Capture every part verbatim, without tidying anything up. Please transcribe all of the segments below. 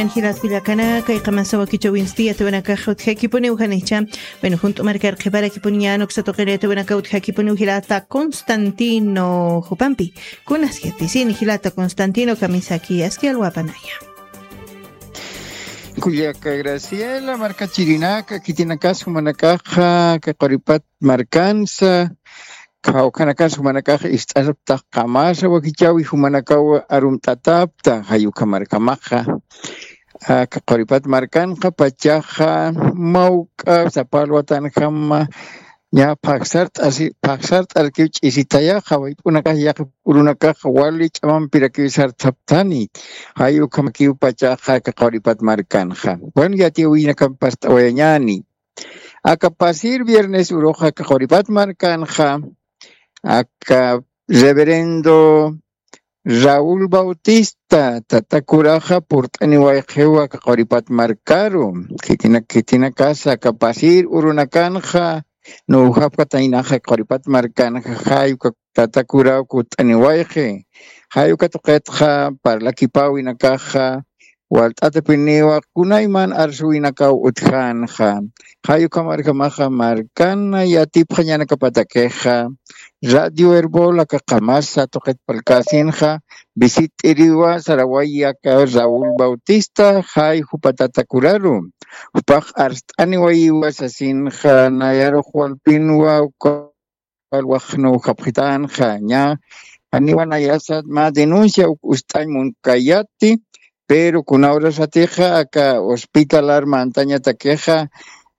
Jilat kullakanaka, iqamasa wakichäwinsti yatiwanakax utjakipuniw janicha. Bueno, junt'u markar qhiparakipuni ñan uksa tuqiri yatiwanaka utjakipuniw jilata Constantino jupampi. Kunas yatisini jilata Constantino, kamisaki aski alwapanaya. Kullaka Graciela, markachirinaka, khitinakas jumanakaxa, kaquripat markansa, khawkhanakas jumanakax ist'asaptax qamasa wakichäwi jumanakaw arumt'atapta, jay ukha markamaxa. Aka quripat markanxa pachaxa mawk'a sapa alwatanjama ña phaxsart'asi, phaxsart'arkiw ch'isitayaxa, wayp'unakax yaqhip urunakax wali ch'amampirakiw sartaptani. Jay ukhamakiw pachaxa aka quripat markanxa. Bueno, yatiyäwinakam past'awayañäni. Aka pasir viernes uruxa aka quripat markanxa, aka reverendo Raúl Bautista, tata kuraxa purt'aniwayxiwa aka quripat markaru. Khitina, khitinakasa aka pasir urunakanxa, nuwjapkataynaxa aka quripat markanxa, jay uka tata kuraw kut'aniwayxi. Jay uka tuqitxa parlakipäwinakaxa, walt'atapiniwa kunayman arsuwinakaw utjänxa. Jay uka markamaxa markan yatipxañanakapatakixa, Radio Erbol aka qamasa tuqit parlkäsinxa, visit'iriwa saraway aka Raúl Bautista, jay jupa tata kuraru. Jupax arst'aniwayiwa sasinxa, nayarux walpinwa uka alwax nuwjapxitänxa, ña janiwa nayasat mä denuncia uk ust'añ munkayati, pero kuna urasatixa aka hospitalar mantañatakixa,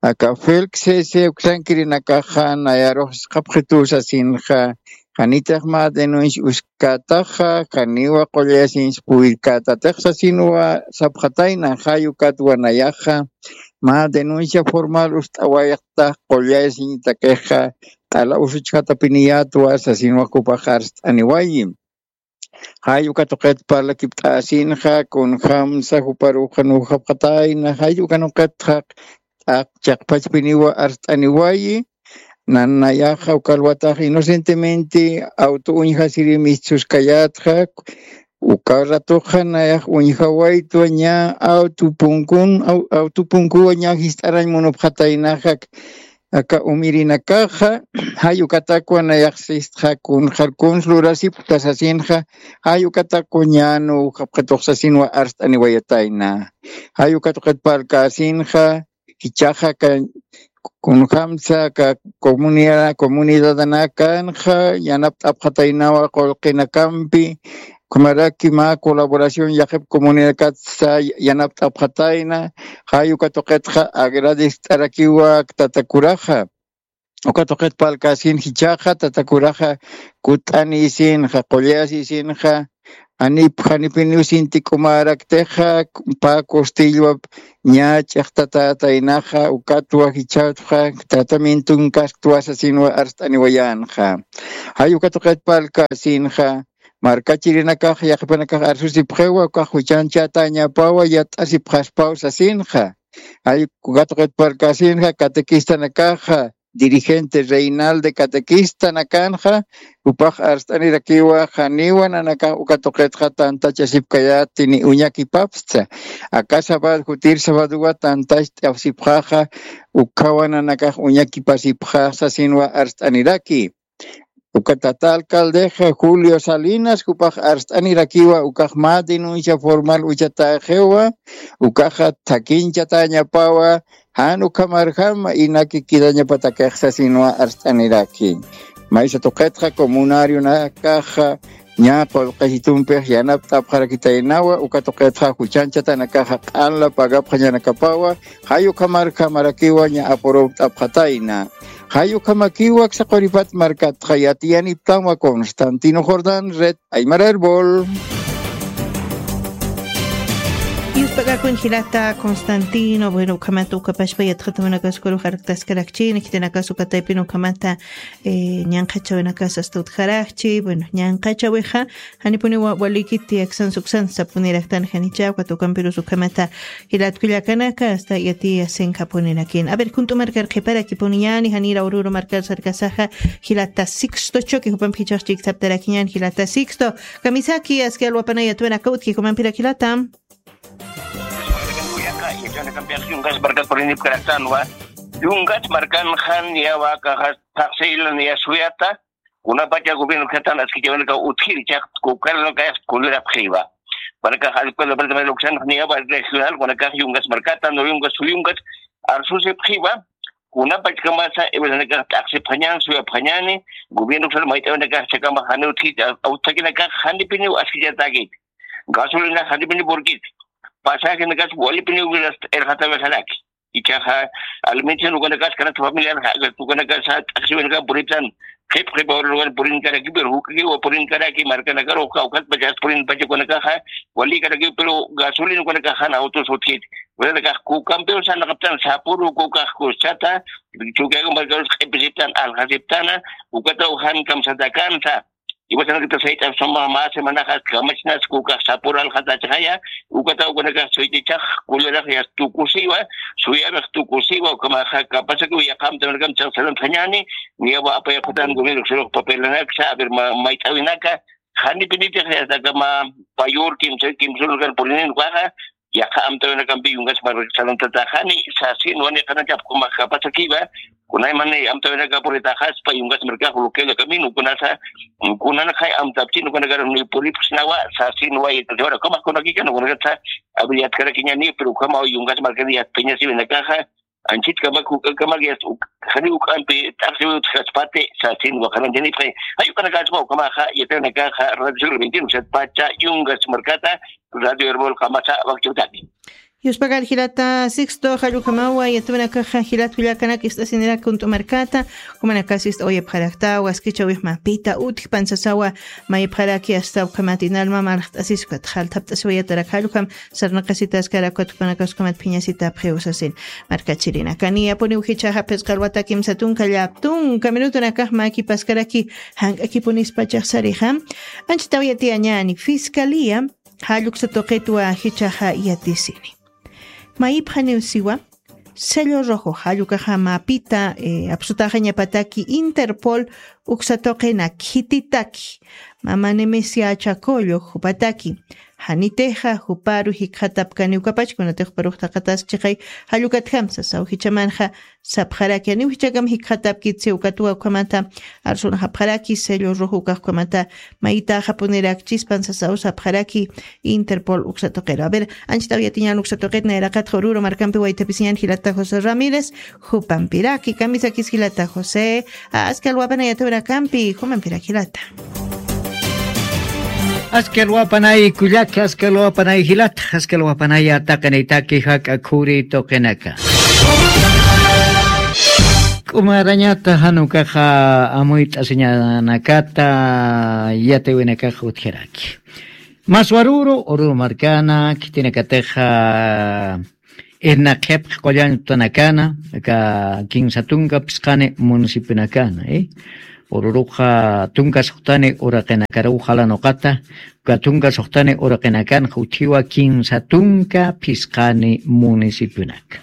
aka Felix Cese uksankirinakaxa nayarux sisqapxitu sasinxa, janitix mä denuncia uskätaxa, janiwa qullasiñs puwirkätatix sasinwa sapxatayna, jay ukatwa nayaxa, mä denuncia formal ust'awayxtax qullasiñtakixa, q'ala usuchjatapiniyätwa sasinwa jupax arst'aniwayi. Jay uka tuqit parlakipt'asinxa, kunjamsa juparuxa nuwjapxatayna, jay uka tuqitxa, t'aq chiqpachpiniwa arst'aniwayi, nanayaxa uka alwatax inocentemente auto uñjasiri mistsuskayätxa, uka ratuxa nayax uñjawaytwa ña auto punkun, au-, auto punkuwa ña jist'arañ munupxataynaxa, aka umirinakaxa, jay ukatakwa nayax sistxa kunxar kuns lurasipkta sasinxa, jay ukatakwa ña nuwjapxitux sasinwa arst'aniwayatayna. Jay uka tuqit parlkäsinxa, jichhaxa aka kunjamsa aka comunidad, comunidadanakanxa yanapt'apxataynawa qullqinakampi, ukhamaraki mä colaboración yaqhip comunidadkatsa yanapt'apxatayna, jay uka tuqitxa agradect'arakiwa tata kuraxa. Uka tuqit parlkäsin jichhaxa, tata kuraxa kut'anïsinxa, qullasisinxa, janip, janipiniw sintik'umäraktixa, pä costillwap ña ch'iqtatätaynaxa, ukatwa jichhätxa tratamientonkasktuwa sasinwa arst'aniwayänxa. Jay uka tuqit parlkäsinxa, markachirinakax, yaqhipanakax arsusipxiwa, ukax juchañchatañapawa yat'asipxaspaw sasinxa. Jay uka tuqit parlkäsinxa, catequistanakaxa, dirigente Reinalde catequistanakanxa, jupax arst'anirakiwa, janiwa nanakax uka tuqitxa tantachasipkayäti ni uñakipapstsa. Aka sábado, jutir sábadowa tantacht'asipxaxa, ukhawa nanakax uñakipasipxaxa sasinwa arst'aniraki. Uka tata alcaldexa Julio Salinas, jupax arst'anirakiwa, ukax mä denuncia formal uchatäxiwa, ukaxa thakinchatäñapawa, jan ukhamarjama inaki quedañapatakix sasinwa arst'aniraki. Maysa tuqitxa comunarionakaxa ña qullqisitumpix yanapt'apxarakitaynawa, uka tuqitxa juchañchatanakaxa q'anla pagapxañanakapawa, jay ukhamarjamarakiwa ña apurupt'apxatayna. Jay ukhamakiwa aksa quripat markatxa yatiyaniptanwa Constantino Jordán, Red Aymara Erbol. Yuspagakun jilata Constantino, bueno, ukhamata ukapashpa yatxatamanakaskuru jarktaskarakchini, khitinakasu kataypin ukhamata, eh, ñanqhachawinakas asta utjarakchi, bueno, ñanqhachawixa, janipuniwa walikiti aksan suksan sapuniraktan janicha, ukat ukampirus ukhamata jilat kullakanaka, asta yatiyasinkapunirakin. A ver, junt'u markar qhiparakipuniñani, janira ururu markar sarkasaxa, jilata Sixto Choque, jupampi jichhax chiksaptarakiñan, jilata Sixto. Kamisaki, aski alwapanaya tuwinaka utji, jupampirak jilata. Yachanakampixa yungas markat purinipkaraktanwa. Yungas markan jan yawakaxa taqsaylan yasuyata. Kunapacha gobierno katan askichawanaka utjiri chaq kukaranaka kulirapxiwa. Panakax alkuela departamento uksan niyawa regional kunakax yungas markata no yungas suyungas arsusipxiwa. Kunapachkamasa ebelanakax t'aqsipxañan suyapxañani. Gobierno uksan mayt'awanakax chakama jani utjita awthakinakax janipiniw askichatakit. Gasolina janipini burkit. Pasajenakas walipini wiras irxatawi jalaki. Ichaxa alimentación ukanakas kanasta familiar ukanakasa t'aqsiwinaka puritan. Qhip qhipa ururwan purinkaraki pero juk'ikiwa purinkaraki markanakaru kawkhatpachas purinpacha ukanakaxa walikaraki pero gasolina ukanakaxan autos utjit. Ukanakax kukampiw sanaqaptan sapuru kukax kuschata. Chukiaku markarus q'ipisiptan aljasiptana. Ukataw jan kamsatakansa. Iwasanakata sayt'apsama mä semanaxas kamachinas kukax sapur alxatachxaya. Ukata ukanakax suytichax kullarax yas tukusiwa. Suyarix tukusiwa ukamaxa kapasakiw yaqamtamanakam chaqsarantañani. Niyawa apayaqatan gobierno sirux papelanaksa a ver mayt'awinaka janipinitix yasakama payur kimsa kimsurkan purinin ukaxa. Yaqa amtawinakampi yungas markasarantataxani sasin waniqanachapxuma kapasakiwa. Kunaymani amtawinaka puritaxaspa yungas markax bloqueo de camino kunasa. Kunanakay amtapchin ukanakara puripxsnawa sasin wayitasiwara kamax kunakikan ukanakatsa. Abri yatkarakiñani pero ukama yungas markani yatpiñasiwinakaxa. Anchit kamak uk'ankamak yasta jani uk'ampi t'aqsiwi utjaspati sasin waqarantinipxi. Jay ukanakaspa ukamaxa yatrinakaxa radio siglo veintiuno satpacha yungas markata. Radio herbol qamasa wakchawtaki. Yuspakar jilata sixto jallukamawa yatrinakaxa jilat willakanak ist'asinirak kunt'u markata. Umanakasi ist'awayapxaraktawa askichawixma pita utjpan sasawa. Mayapxaraki asta ukhamat inalma marxt'asiskat jalthapt'asiwayatarak jallukam sarnaqasitaskara ukatkupanakaskumat phiñasitapxiw sasin. Markachirinakani apuniw jichhaxa phisqa alwata kimsa tunka llap tunka minutunakax mäkipaskaraki. Jank'akipunispachax sarixa anchitaw yatiyañani fiscalía jalluksa tuqitwa jichhaxa yatisini. Mayipxaniw siwa sello rojo jallukaxa mapita apsutaxañapataki interpol uksa tuqinaki khititaki mama nemesia chakollo jupataki. Janitixa juparu jikxatapkaniw kapach kunatix juparux taqatas chiqay jallukatjam sasaw jichhamanxa. Sapxaraki janiw jichhakam jikxatapkitsi ukatwa ukhamata arsunaxapxaraki sello rojo ukax ukhamata. Mayitaxapunirakchispan sasaw sapxaraki interpol uksa tuqiru a ver. Anchitaw yatiñan uksa tuqit nayraqatxa ururu markampi waytapisiñan jilata josé ramírez. Jupampiraki kamisakis jilata josé. Askal wapanay atawirakampi jumampirak jilata. Askal wapanay kullak askal wapanay jilata askal wapanay ataqinaytaki jak'a khuri tuqinaka. K'umarañata janukaxa amuyt'asiñanakata yatiwinakaxa utjaraki. Maswaruru ururu markana khitinakatixa irnaqhipx qullañutanakana aka kinsa tunka phisqani municipionakana. Ururuxa tunka suxtani uraqinakaruw jalanuqata uka tunka suxtani uraqinakanxa utjiwa kinsa tunka phisqani municipionaka.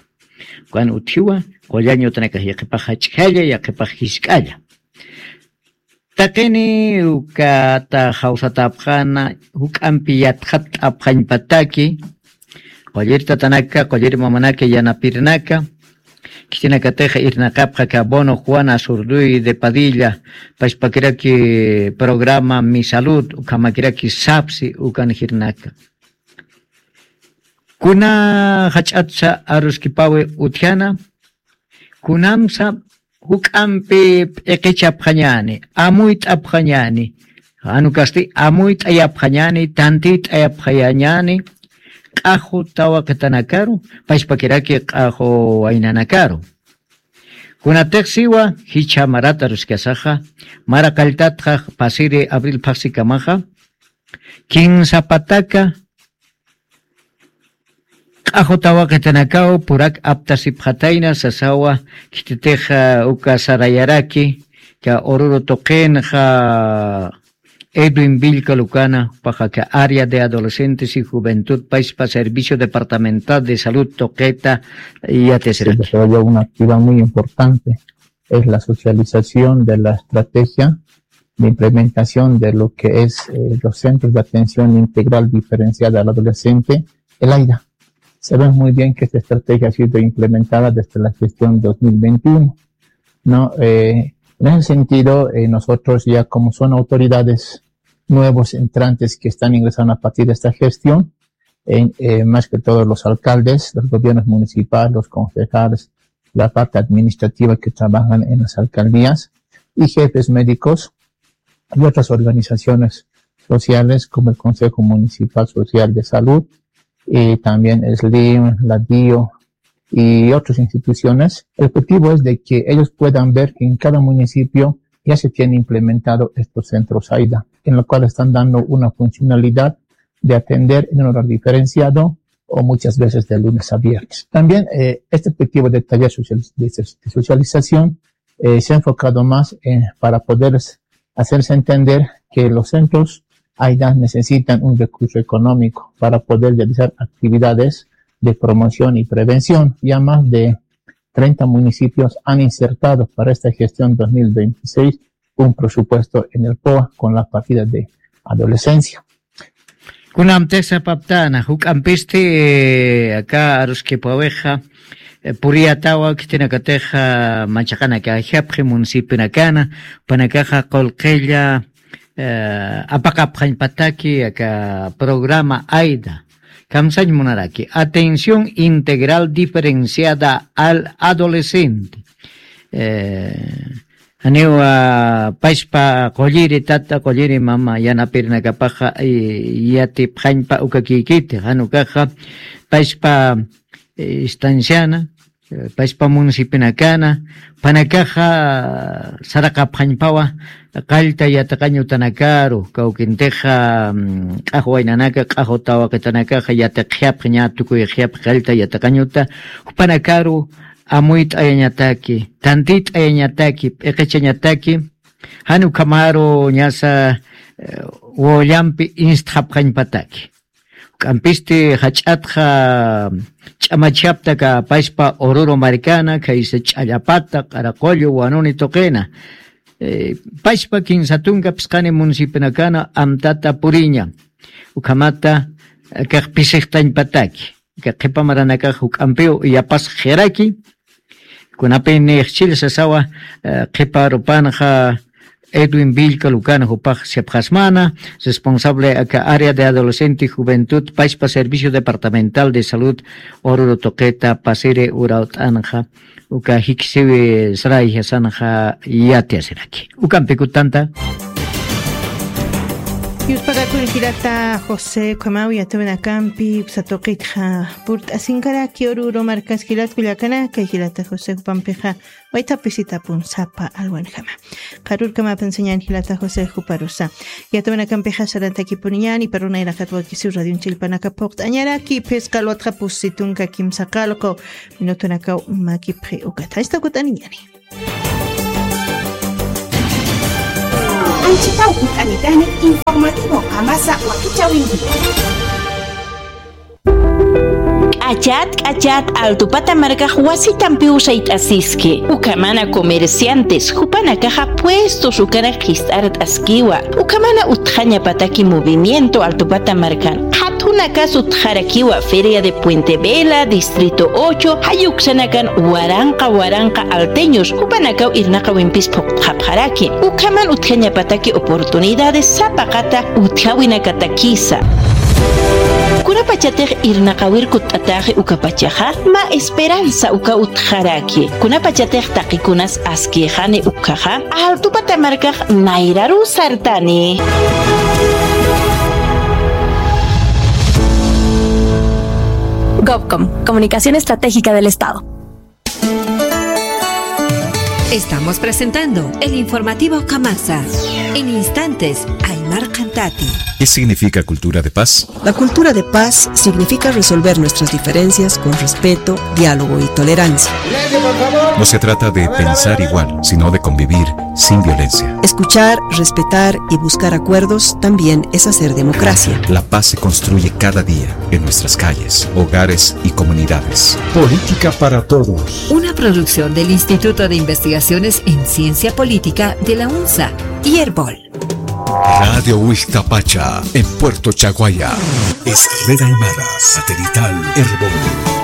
Ukan utjiwa qullañutanakax yaqhipax jach'jalla yaqhipax jisk'alla. Taqini ukata jawsatapxana juk'ampi yatxatt'apxañpataki. Qullir tatanaka qullir mamanaka yanapirinaka. Khitinakatixa irnaqapxa aka bono juana surduy de padilla pachpakiraki programa mi salud ukhamakiraki sapsi ukan jirnaka. Kuna jach'atsa aruskipawi utjana kunamsa juk'ampi p'iqichapxañäni amuyt'apxañäni. Janukasti amuyt'ayapxañäni tantiyt'ayapxañäni q'axu tawaqitanakaru pachpakiraki q'axu waynanakaru. Kunatix siwa jichha marata ruskasaxa mara qalltatxa pasiri abril phaxsikamaxa kinsa pataka q'axu tawaqitanakaw purak aptasipxatayna sasawa. Khititix uka sarayaraki ka ururu tuqinxa edwin villca lucana jupaxa ka área de adolescentes y juventud paispa servicio departamental de salud tuqita. Yatisiraki. Desarrolló una actividad muy importante, es la socialización de la estrategia de implementación de lo que es eh, los centros de atención integral diferenciada al adolescente, el aira. Sabemos muy bien que esta estrategia ha sido implementada desde la gestión dos mil veintiuno, ¿no? Eh, en ese sentido, eh, nosotros ya como son autoridades nuevos entrantes que están ingresando a partir de esta gestión, en, eh, más que todo los alcaldes, los gobiernos municipales, los concejales, la parte administrativa que trabajan en las alcaldías y jefes médicos y otras organizaciones sociales como el Consejo Municipal Social de Salud, y también el slim, la DIO y otras instituciones. El objetivo es de que ellos puedan ver que en cada municipio ya se tiene implementado estos centros AIDA, en lo cual están dando una funcionalidad de atender en un horario diferenciado o muchas veces de lunes a viernes. También, eh, este objetivo de taller social, de, de socialización, eh, se ha enfocado más en, para poder hacerse entender que los centros AIDA necesitan un recurso económico para poder realizar actividades de promoción y prevención. Ya más de treinta municipios han insertado para esta gestión dos mil veintiséis un presupuesto en el POA con la partida de adolescencia. Kunamtix sapaptana, juk'ampisti, eh, aka aruskipxawixa, eh, puriyatawa khitinakatixa manchaqanakajapxi municipionakana, jupanakaxa qullqilla, eh, apaqapxañpataki aka programa AIDA. Kamsañ munaraki, atención integral diferenciada al adolescente. Eh, janiwa payspa qulliri tata, qulliri mama yanapirinakapaxa, eh, yatipxañpa uka kikiti, jan ukaxa payspa, eh, instanciana, eh, payspa municipionakana, jupanakaxa saraqapxañpawa qallta yatiqañ utanakaru, kawkintixa, mm, q'axwa waynanaka, q'axwa tawaqitanakaxa yatiqxapxi, ña tukuyxapxi qallta yatiqañ uta, jupanakaru amuyt'ayañataki, tantit'ayañataki, p'iqichañataki, jan ukhamaru ñasa, eh, wawallampi instxapxañpataki. Juk'ampisti jach'atxa ch'amachapta aka payspa Oruro markana, khaysa Ch'allapata, Q'araqullu, Wanuni tuqina. Eh, payspa kinsa tunka phisqani municipionakana amtata puriña. Ukhamata, eh, kax pisixtañpataki. Aka qhipa maranakax juk'ampiw yapasxiraki. Kunapin nixchil sasawa, eh, qhipa arupanxa Edwin Villca Lucana, jupax sipxasmana, responsable aka área de adolescente y juventud, payspa Servicio Departamental de Salud Oruro tuqita, pasiri urawt'anxa, uka jikisiwi sarayjasanxa yatiyasiraki. Ukampi kutanta. Yutpakakun jilata José, ukhamaw yatawinakampi uksa tuqitxa purt'asinkaraki Oruro markas jilat kullakanaka, jilata José, jupampixa waythapisitapun sapa alwanjama. Qharürkamapan sañän jilata José juparusa. Yatawinakampixa sarantakipuniñäni, iparu nayraqat wakisiw radion chillpanaka phuqt'añaraki, phisqa alwatxa pusi tunka kimsa qallqu minutunakaw makipxi ukata. Jista kut'aniñäni. Anchitaw kut'anitani informativo Kamasa wakichäwinki. K'achat, k'achat, Altupata markax wasitampiw sayt'asiski. Ukhamana comerciantes, jupanakaxa puestos ukanak qhist'art'askiwa. Ukhamana utjañapataki movimiento Altupata markan. Qhathunakas utjarakiwa Feria de Puente Vela, Distrito ocho, jay uksanakan waranqa waranqa alteños, jupanakaw irnaqawimpis phuqt'xapxaraki. Ukhaman utjañapataki oportunidades sapaqata utjawinakatakisa. Kunapachatix irnaqawir kutt'atäxi ukapachaxa, mä esperanza uka utjaraki. Kunapachatix taqikunas askïxani ukhaxa, Altupata markax nayraru sartani. Govcom, Comunicación Estratégica del Estado. Estamos presentando el informativo Kamasa. En instantes, Aymar Cantati. ¿Qué significa cultura de paz? La cultura de paz significa resolver nuestras diferencias con respeto, diálogo y tolerancia. No se trata de pensar igual, sino de convivir sin violencia. Escuchar, respetar y buscar acuerdos también es hacer democracia. La paz se construye cada día en nuestras calles, hogares y comunidades. Política para todos. Una producción del Instituto de Investigaciones en Ciencia Política de la UNSA y Erbol. Radio Huixcapacha, en Puerto Chaguaya. Es red aymara satelital Erbol.